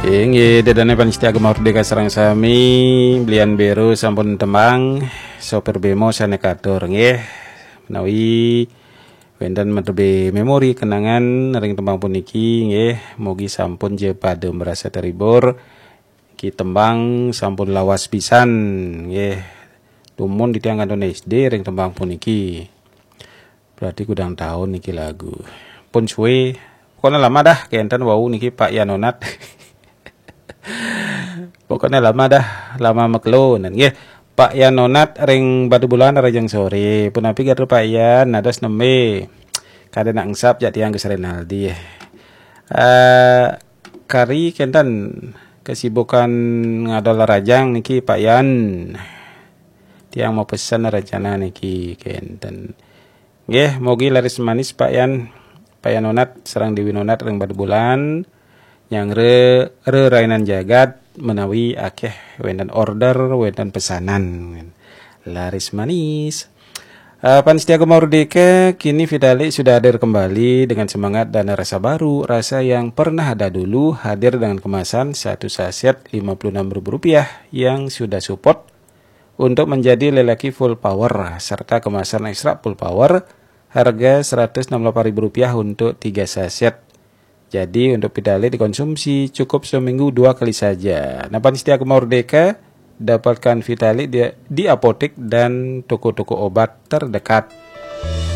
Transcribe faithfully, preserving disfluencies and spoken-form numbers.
Inggih, ida dané pamiarsa Gema Merdeka sareng sami, belian Bero sampun tembang, sopir bemo sané katur, nggih. Menawi wénten menawi memori kenangan ring tembang puniki, nggih, mugi sampun ja pada merasa terhibur. Niki tembang sampun lawas pisan, nggih. Dumun titiang kantun S D ring tembang puniki. Berarti kudang taun niki lagu. Pun suwe. Pokoknya lama dah, kenten wau niki Pak Yan Onat. Pokoknya lama dah, lama makelo, nggih. Pak Yan Onat ring Batubulan, rahajeng sore. Punapi gatra Pak Yan, dados nembé? Kada nak engsap jak tiang Gus Renaldi. Eh, kari kenten kesibukan ngadol rahajeng niki Pak Yan. Tiang mau pesen rencana niki kenten. Nggih, mugi laris manis Pak Yan. Pak Yan Onat sareng Dewi Onat ring Batubulan. Nyanggra rerainan jagat menawi akeh wénten order, wénten pesanan. Laris manis. Eh, pamiarsa Gema Merdeka, kini Vitalik sudah hadir kembali dengan semangat dan rasa baru. Rasa yang pernah ada dulu hadir dengan kemasan satu saset lima puluh enam ribu rupiah yang sudah support untuk menjadi lelaki full power serta kemasan ekstra full power harga seratus enam puluh delapan ribu rupiah untuk tiga saset. Jadi untuk Vitalik dikonsumsi cukup seminggu dua kali saja. Nah, pamiarsa Gema Merdeka, dapatkan Vitalik di, di apotek dan toko-toko obat terdekat.